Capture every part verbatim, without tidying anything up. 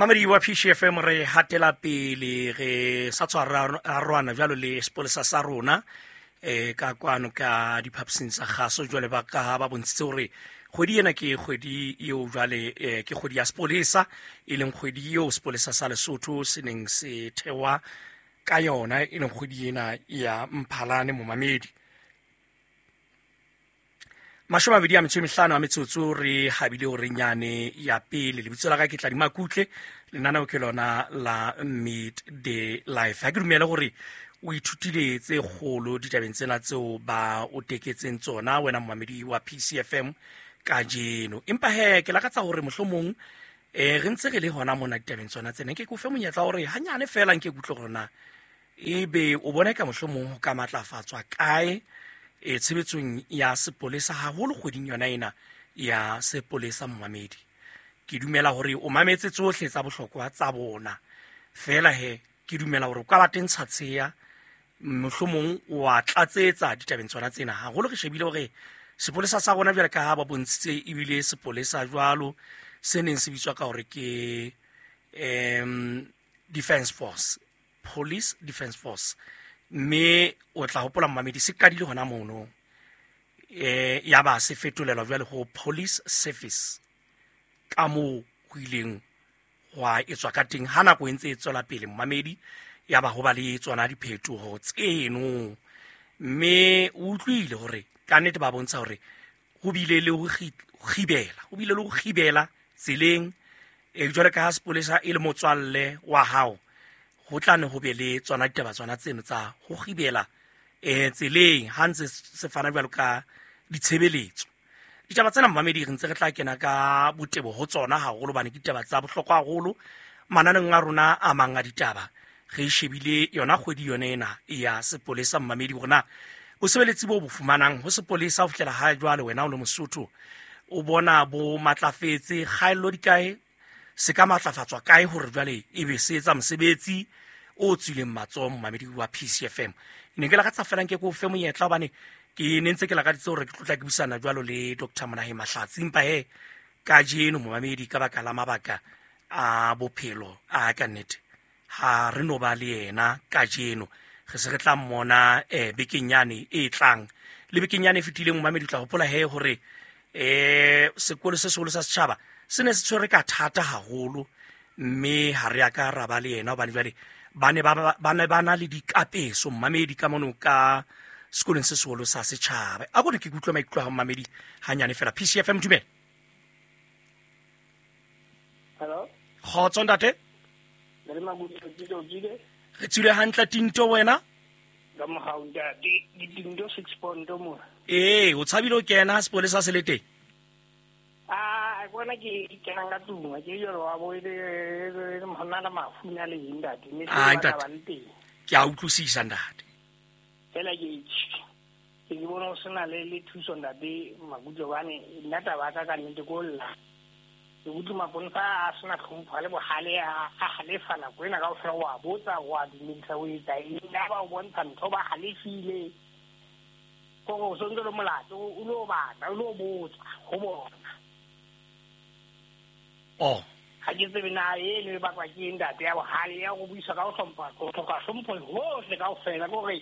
Mamedi wa P C F M re hatela pele re sa tshwarana jwalo le sepolesa sa rona eh ka kwano ka diphaposing tsa kgaso jwale ba ka ba bontshitse hore kgwedi ena ke kgwedi eo jwale ke kgwedi ya sepolesa, e leng kgwedi eo sepolesa sa Lesotho se neng se thewa ka yona, e leng kgwedi ena ya Mphalane momamedi. Mashome a mabedi a metso e mehlano a metsotso re habile hore nyane ya pele. Lebitso la ka ke Tladi Makutle, lenaneo ke lona la Midday Life. Ha ke dumele hore o ithutile tse kgolo ditabeng tsena tseo ba o teketseng tsona wena momamedi wa P C F M kajeno. Empa he ke lakatsa hore mohlomong eh re ntse re le hona mona ditabeng tsona tsena, nke ke o fe monyetla hore hanyane feela nke ke utlwe hore na ebe o bona ka mohlomong ho ka matlafatswa kae e tshebetsong ya sepolesa haholo kgweding yona ena ya sepolesa momamedi. Ke dumela hore o mametse tsohle tsa bohlokwa tsa bona, fela he ke dumela hore o ka ba teng tshatsheya mohlomong wa tlatsetsa ditabeng tsona tsena. Haholo re shebile hore sepolesa sa rona jwale ka ha ba bontshitse ebile sepolesa jwalo se neng se bitswa ka hore ke um Defence Force, Police Defence Force, mme o tla hopola momamedi se qadile hona mono eh ya ba se fetolelwa jwale ho Police Service ka moo ho ileng hwa etswa ka teng ha nako e ntse e tswela pele momamedi, ya ba ho ba le tsona diphetoho tseno. Mme o utlwile hore ka nnete ba bontsha hore ho bile le ho kgibela, ho bile le ho kgibela tseleng e jwale ka ha sepolesa e le motswalle wa hao, ho tla ne ho be le tsona ditaba tsona tseno tsa ho kgibela eh tseleng ha ntse se fana jwalo ka ditshebeletso. Ditaba tsena momamedi re ntse re tla kena ka botebo ho tsona haholo bane ke ditaba tsa bohlokwa haholo mananeng a rona a mang a ditaba. Re shebile yona kgwedi yone ena ya sepolesa momamedi, hore na bosebeletsi bo bo fumanang ho sepolesa ho fihlela ha jwale wena o le Mosotho o bona bo matlafetse, kgaello di kae, se ka matlafatswa kae hore jwale ebe se etsa mosebetsi o tswileng matsoho momamedi wa P C F M. Ne ke lakatsa fela nke ke o fe monyetla hobane ke ne ntse ke lakaditse hore ke tlotla ke buisana jwalo le Doctor Monahe Mahlatsi, empa he kajeno momamedi ka baka la mabaka a bophelo a ka nnete ha re no ba le yena kajeno, re se re tla mmona eh bekeng yane e tlang. Le bekeng yane e fetileng momamedi o tla hopola he hore eh sekolo se seholo sa setjhaba se ne se tshwere ka thata haholo, mme ha re a ka ra ba le yena hobane jwale ba ne ba ba ne ba na le dikapeso momamedi ka mono ka sekolong se seholo sa setjhaba. A kore ke utlwe maikutlo a momamedi hanyane fela. P C F M dumela. Hello. Kgotso ntate. Le makutlwe ke tsile. Re tsile hantle Tinto wena? Ka mohau ntate, di Tinto six point mo. Eh, o tshabile o kena sepolesa se le teng? Ah, bona ke kena ka tlung, ke jalo wa bo ile hona la mafu na le ntate, mme ke ba le teng. Ke a utlwisisa ntate. Fela ke ke bona o sena le le thuso ntate Makutlwe bane nna taba ka ka nnete ko lla. Ke utlwe maponesa a sena tlhompho le bohale a halefa nako ena kaofela, wa botsa wa dumedisa o etsa eng, ba o bontsha ntho ba halefile. Kore o sontse le molato o lo batla o lo botsa ho bona. Oh. Ha ke tsebe na eno e bakwa ke ntate ya bohale ya go buisa ka ho hlompha, go hloka hlompho hohle kaofela. Ke hore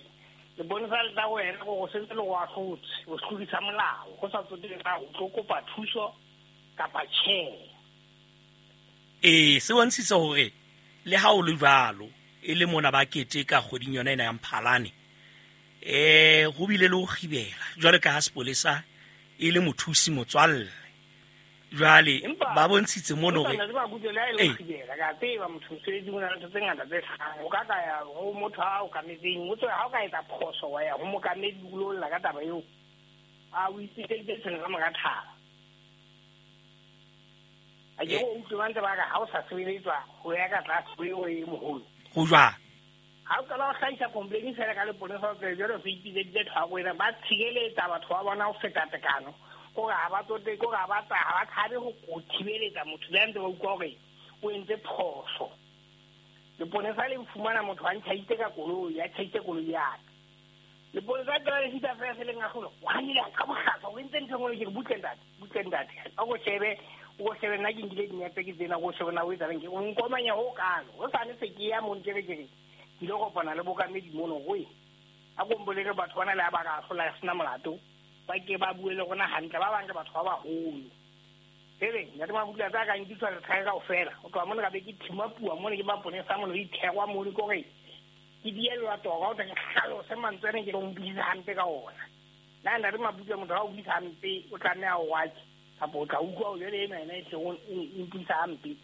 leponesa le tla wena gore o sentse le go ahlotse, o tlodisa molao go sa tsotelle na o tlo kopa thuso kapa tjhe. Eh, se bontshitse hore le ha o le jwalo e le mona ba keteka kgweding yona ena ya Mphalane, eh ho bile le ho kgibela jwale ka ha sepolesa e le mothusi motswalle. Jwale ba bontshitse mono hore ba kutlwe le ha e le ho kgibela ka tseba motho mosebetsi o na le ntho tse ngata tse hlahang. O ka ka ya ho motho a o kametseng, o tswe ha o ka etsa phoso wa ya ho mokamedi o lo lla ka taba eo, a o itsitseditse tshwene ka mora thaba. A ke o utlwe ba ntse ba re ha o sa sebeletswa ho ya ka tlase ho eo e moholo. Ho jwang? Ha o qala ho hlahisa complaint fela ka leponesa o tsebe jwale o se ipitseditse thwako ena, ba tshireletsa batho ba bona ho feta tekano. Kore ha ba tsote, kore ha ba ha ba tshabe ho thibeletsa motho le ha ntse ba utlwa hore o entse phoso. Leponesa le fumana motho a ntjhaitse ka koloi, a tjhaitse koloi ya ka. Leponesa le qala le fihla fela se leng a kgolo, wa nile ka bohlaswa, o entse ntho e nngwe, ke re butle ntate, butle ntate. A ko shebe O shebe nna ke nkile dinepe ke tsena, o shebe na o etsalang ke o nkomanya ho kalo. O sane se ke ya mo nkere ke re ke ile kopana le bokamedi mono goe. A ko mbolele batho bana le ba ka hlola sena molato. Ba ke ba bue le rona hantle, ba bang ke batho ba baholo. Ebe ntate Makutle tsa ka nkitswa re tlhae kaofela. O tloha mona ka be ke thima puo mona ke maponesa mona re ithekwa mona ke hore ke dielwa toka o tla ke hlalose mantswe ana ke lo mpuisa hampe ka ona. Nna ntate Makutle motho ha o buisa hampe o tlameha ho watse kapa o tla utlwa o jwale ena ena e tle o mpuisa hampe.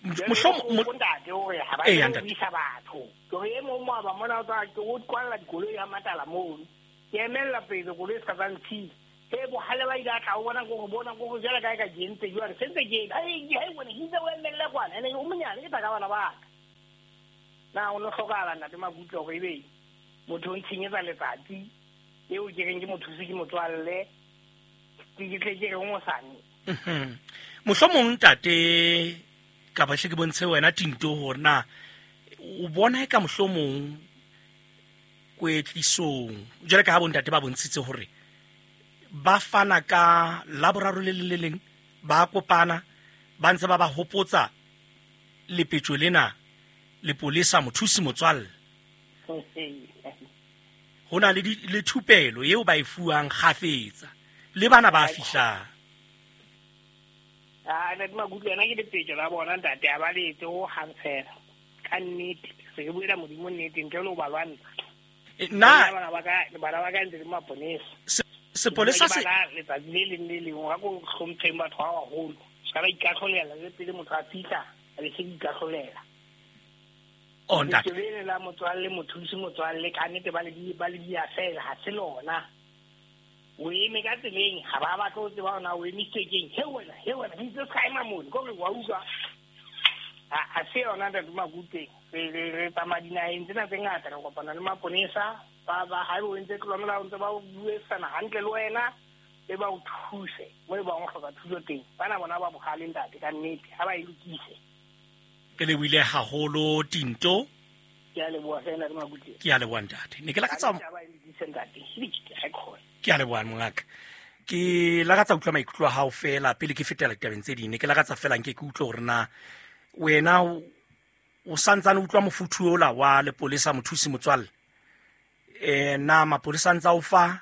Mohlomong ntate hore ha ba buisa batho. Ke hore e mong mo ba mona o tla ke o kwalla dikoloi ya matala mono. Ke emella pele koloi se ka tsa ntshila. E bohale ba ile a tla o bona go bona go jala kae ka jentse jwale sentse ke ai ai bona ke itse o emelle kwana ene o monyane ke tla ka bana ba ka. Na o no hlokahala ntate Makutle hore ebe motho o ntshenyetsa letsatsi eo ke reng ke mothusi ke motswalle ke ke tle ke re o mosane. Mhm. Mohlomong ntate ka ba hle ke bontshe wena Tinto hore na o bona e ka mohlomong kwetlisong jwale ka ha bontate ba bontshitse hore ba fana ka laboraro le le leng ba kopana ba ntse ba ba hopotsa lepetjo lena lepolesa mothusi motswalle. Ho na le le thupelo eo ba e fuwang kgafetsa le bana ba fihlang. Ah ntate Makutle yena ke lepetjo la bona ntate a ba letse ho hang fela. Ka nnete se ke buela Modimo nnete ntle le ho ba lwantsha. Nna bana ba ka bana ba ka ntse le maponesa. Sepolesa se letsatsi le leng le leng ha ko hlompheng batho ba baholo. Se ka ba ikahlolela le pele motho a fihla a be se ikahlolela. Oh ntate. Le la motswalle mothusi motswalle ka nnete ba le di ba le di a fela ha se lona. O eme ka tseleng ha ba batla ho tseba hore na o emisitswe keng. He wena, he wena, ke itse ska ema mono, ko re wa utlwa. Ha se yona ntate Makutle. Re re tsamaya dinaheng tsena tse ngata re kopana le maponesa ba ba ha o ntse tlolo molao ntse ba o buisana hantle le wena e ba o thuse mo e ba o hloka thuso teng. Bana bona ba bohale ntate ka nnete ha ba e lokise. Ke lebohile haholo Tinto. Ke a leboha fela le Makutle. Ke a leboha ntate. Ne ke lakatsa ba e lokise ntate. Ke ha khona. Ke a leboha mongaka. Ke lakatsa utlwa maikutlo a hao fela pele ke fetela ditabeng tse ding. Ne ke lakatsa fela nke ke utlwe hore na wena o santsane utlwa mofuthu ola wa lepolesa mothusi motswalle. Eh na mapolesa ntsa o fa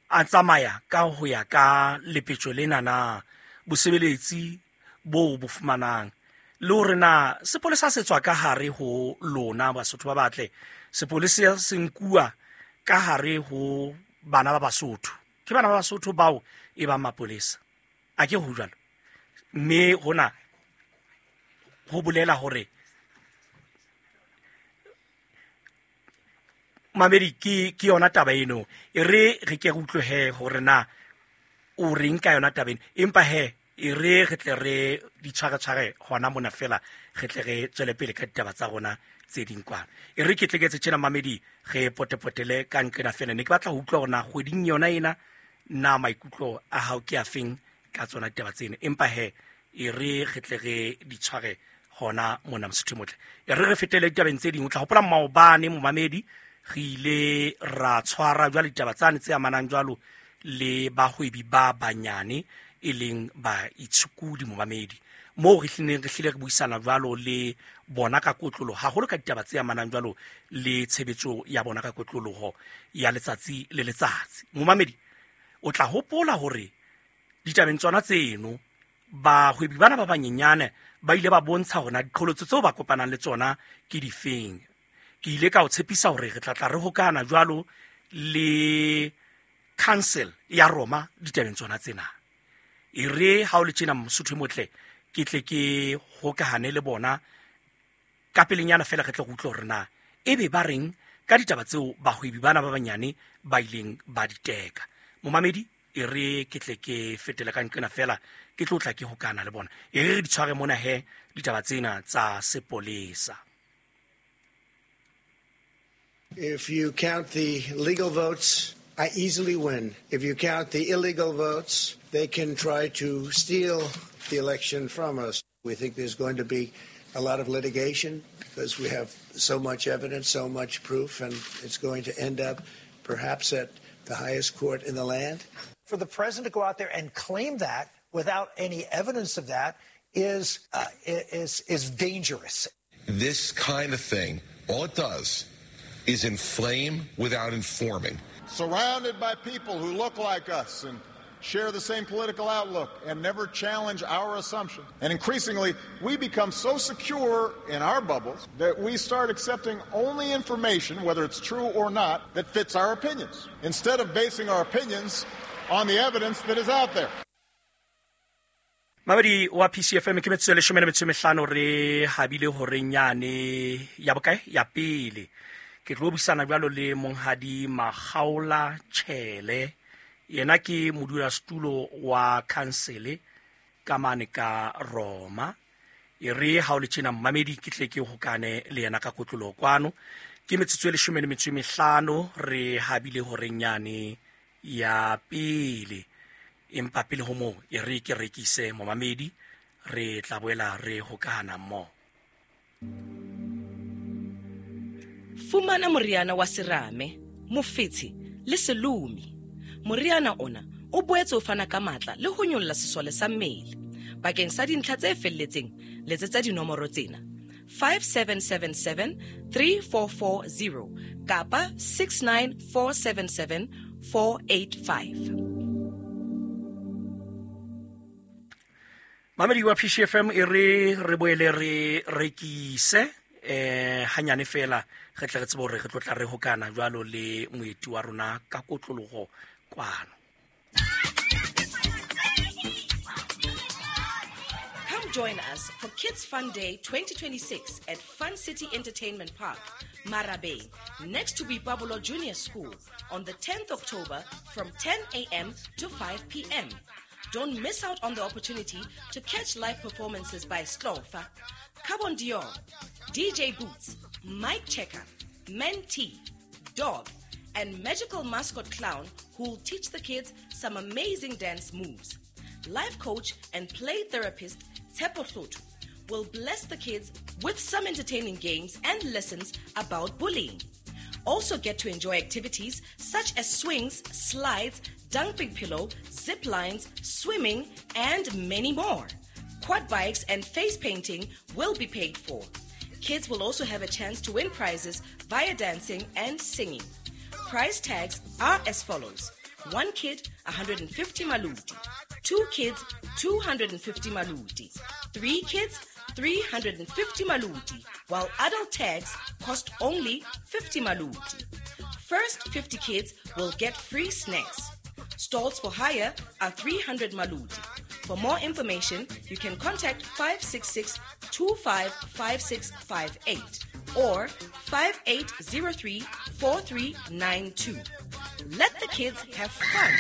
a tsamaya ka ho ya ka lepetjo lena na bosebeletsi bo bo fumanang le hore na sepolesa se tswa ka hare ho lona Basotho ba batle sepolesa se nkuwa ka hare ho bana ba Basotho ke bana ba Basotho bao e ba mapolesa a ke ho jwalo mme hona ho bolela hore mamedi ke ke yona taba eno e re re ke re utlwe hore na o reng ka yona taba eno empa he e re re tle re di tshware tshware hona mona fela re tle re tswele pele ka ditaba tsa rona tse ding kwana e re ke tleketse tjena mamedi re potepotele ka nqena fela ne ke batla ho utlwa hore na kgweding yona ena na maikutlo a hao ke a feng ka tsona ditaba tseno empa he e re re tle re di tshware hona mona Mosotho motle e re re fetele ditabeng tse ding o tla hopola maobane momamedi re ile ra tshwara jwale ditaba tsane tse amanang jwalo le bahwebi ba banyane e leng ba itshukudi momamedi moo re hlileng re hlile re buisana jwalo le bona ka kotloloho haholo ka ditaba tse amanang jwalo le tshebetso ya bona ka kotloloho ya letsatsi le letsatsi. Momamedi o tla hopola hore ditabeng tsona tseno bahwebi bana ba banyenyane ba ile ba bontsha hore na diqholotso tseo ba kopanang le tsona ke difeng. Ke ile ka o tshepisa hore re tla tla re hokana jwalo le council ya Roma ditabeng tsona tsena. E re ha o le tjena Mosotho motle ke tle ke hokahane le bona ka pelenyana fela re tle go utlwe hore na ebe ba reng ka ditaba tseo bahwebi bana ba banyane ba ileng ba di teka. Momamedi e re ke tle ke fetele ka nqena fela ke tlo tla ke hokana le bona. E re re di tshware mona he ditaba tsena tsa sepolesa. If you count the legal votes, I easily win. If you count the illegal votes, they can try to steal the election from us. We think there's going to be a lot of litigation because we have so much evidence, so much proof, and it's going to end up perhaps at the highest court in the land. For the president to go out there and claim that without any evidence of that is, uh, is, is dangerous. This kind of thing, all it does is inflame without informing. Surrounded by people who look like us and share the same political outlook and never challenge our assumptions. And increasingly, we become so secure in our bubbles that we start accepting only information, whether it's true or not, that fits our opinions, instead of basing our opinions on the evidence that is out there. Mamedi wa P C F M ke metsotso e leshome le metso e mehlano re habile horeng yane ya bokae ya pele. Ke tlo buisana jwalo le monghadi Makgaola Tjhele, yena ke modulasetulo wa khansele ka mane ka Roma. E re ha o le tjena mmamedi ke tle ke hokane le yena ka kotloloho kwano. Ke metsotso e leshome le metso e mehlano re habile horeng yane ya pele. Empa pele ho moo e re ke rekise momamedi, re tla boela re hokana mmoho. Fumana moriana wa serame, mofetshe le selomi. Moriana ona o boetse o fana ka matla le ho nyolla sesole sa mmele. Bakeng sa dintlha tse felletseng, letsetsa dinomoro tsena: five seven seven seven three four four zero kapa six nine four seven seven four eight five. Mamedi wa P C F M e re re boele re rekise eh hanyane fela re tle re tsebe hore re tlo tla re hokana jwalo le moeti wa rona ka kotloloho kwano. Come join us for Kids Fun Day twenty twenty-six at Fun City Entertainment Park, Marabeng, next to Boipabolo Junior School on the tenth October from ten a.m. to five p.m. Don't miss out on the opportunity to catch live performances by Slofa, Carbon Dior, D J Boots, Mike Checker, Mentee, Dog, and magical mascot clown who'll teach the kids some amazing dance moves. Life coach and play therapist Tshepo Hloto will bless the kids with some entertaining games and lessons about bullying. Also get to enjoy activities such as swings, slides, dumping pillow, zip lines, swimming, and many more. Quad bikes and face painting will be paid for. Kids will also have a chance to win prizes via dancing and singing. Price tags are as follows. One kid, one hundred fifty maluti. Two kids, two hundred fifty maluti. Three kids, three hundred fifty maluti, while adult tags cost only fifty maluti. First fifty kids will get free snacks. Stalls for hire are three hundred maluti. For more information, you can contact five six six, two five five six five eight or five eight zero three, four three nine two. Let the kids have fun.